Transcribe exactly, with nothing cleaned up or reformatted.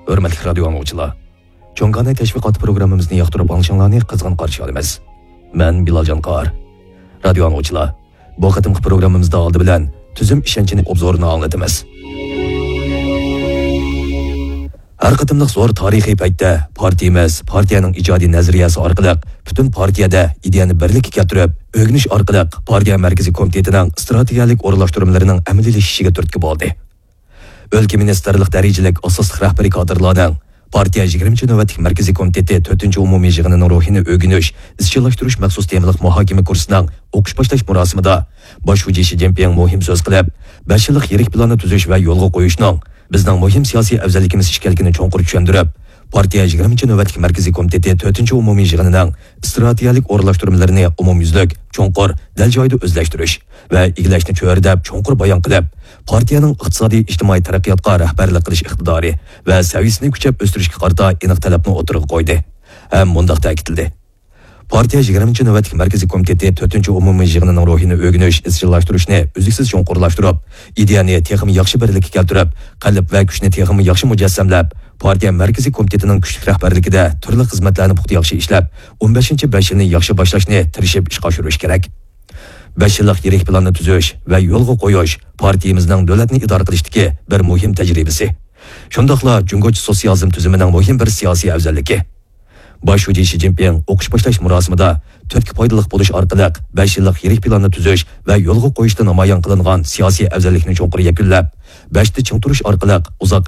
ھۆرمەتلىك رادىيو ئاڭلىغۇچىلار، چوڭ كاناي تەشۋىقاتى پروگراممىمىزنى ياقتۇرۇپ ئاڭلىشىڭلارنى قىزغىن قارشى ئالىمىز. مەن بىلال جانقار. رادىيو ئاڭلىغۇچىلار، بۇ قېتىمقى پروگراممىمىزدا ئالدى بىلەن تۈزۈم ئىشەنچىنى ئوبزورىنى ئاڭلىتىمىز. ھەر قېتىملىق زور تارىخىي پەيتتە پارتىيىمىز پارتىيەنىڭ ئىجادىي نەزەرىيەسى ئارقىلىق پۈتۈن پارتىيەدە ئىدىيەنى بىرلىككە كەلتۈرۈپ، ئۆگىنىش ئارقىلىق پارتىيە مەركىزىي كومىتېتىنىڭ ئىستراتېگىيەلىك ئورۇنلاشتۇرمىلىرىنىڭ ئەمەلىيلىشىشىگە تۈرتكە بولدى. ئۆلكە مىنىستىرلىق دەرىجىلىك ئاساسلىق رەھبىرىي كادىرلارنىڭ پارتىيە يىگىرمىنچى نۆۋەتلىك مەركىزىي كومىتېتى تۆتىنچى ئومۇمىي يىغىنىنىڭ روھىنى ئۆگىنىش، ئىزچىللاشتۇرۇش مەخسۇس تېمىلىق مۇھاكىمە كۇرسىنىڭ ئوقۇش باشلاش مۇراسىمىدا باش شۇجى شى جىنپىڭ مۇھىم سۆز قىلىپ، بەش يىللىق يىرىك پىلاننى تۈزۈش ۋە يولغا قويۇشنىڭ بىزنىڭ مۇھىم سىياسىي ئەۋزەللىكىمىز ئىكەنلىكىنى چوڭقۇر چۈشەندۈرۈپ، پارتىيە يىگىرمىنچى نۆۋەتلىك مەركىزىي كومىتېتى تۆتىنچى ئومۇمىي يىغىنىنىڭ ئىستراتېگىيەلىك ئورۇنلاشتۇرمىلىرىنى ئومۇميۈزلۈك، چوڭقۇر، دەل جايىدا ئۆزلەشتۈرۈش ۋە ئىگىلەشنى چۆرىدەپ چوڭقۇر بايان قىلىپ، پارتىيەنىڭ ئىقتىسادىي، ئىجتىمائىي تەرەققىياتقا رەھبەرلىك قىلىش ئىقتىدارى ۋە سەۋىيەسىنى كۈچەپ ئۆستۈرۈشكە قارىتا ئېنىق تەلەپنى ئوتتۇرىغا قويدى ھەم مۇنداق تەكىتلىدى: پارتىيە يىگىرمىنچى نۆۋەتلىك مەركىزىي كومىتېتى تۆتىنچى ئومۇمىي يىغىنىنىڭ روھىنى ئۆگىنىش، ئىزچىللاشتۇرۇشنى ئۈزلۈكسىز چوڭقۇرلاشتۇرۇپ، ئىدىيەنى تېخىمۇ ياخشى بىرلىككە كەلتۈرۈپ، قەلب ۋە كۈچنى تېخىمۇ ياخشى مۇجەسسەملەپ، پارتىيە مەركىزىي كومىتېتىنىڭ كۈچلۈك رەھبەرلىكىدە تۈرلۈك خىزمەتلەرنى پۇختا ياخشى ئىشلەپ، ئون بەشىنچى بەش يىلنى ياخشى باشلاشنى تىرىشىپ ئىشقا ئاشۇرۇش كېرەك. بەش يىللىق يىرىك پىلاننى تۈزۈش ۋە يولغا قويۇش پارتىيىمىزنىڭ دۆلەتنى ئىدارە قىلىشتىكى بىر مۇھىم تەجرىبىسى. شۇنداقلا جۇڭگوچە سوتسىيالىزم تۈزۈمىنىڭ مۇھىم بىر سىياسىي ئەۋزەللىكى. باش شۇجى شى جىنپىڭ ئوقۇش باشلاش مۇراسىمىدا تۈرتكە پايدىلىق بولۇش ئارقىلىق بەش يىللىق يىرىك پىلاننى تۈزۈش ۋە يولغا قويۇشتا نامايان قىلىنغان سىياسىي ئەۋزەللىكنى چوڭقۇر يەكۈنلەپ، بەشتە چىڭ تۇرۇش ئارقىلىق ئۇزاق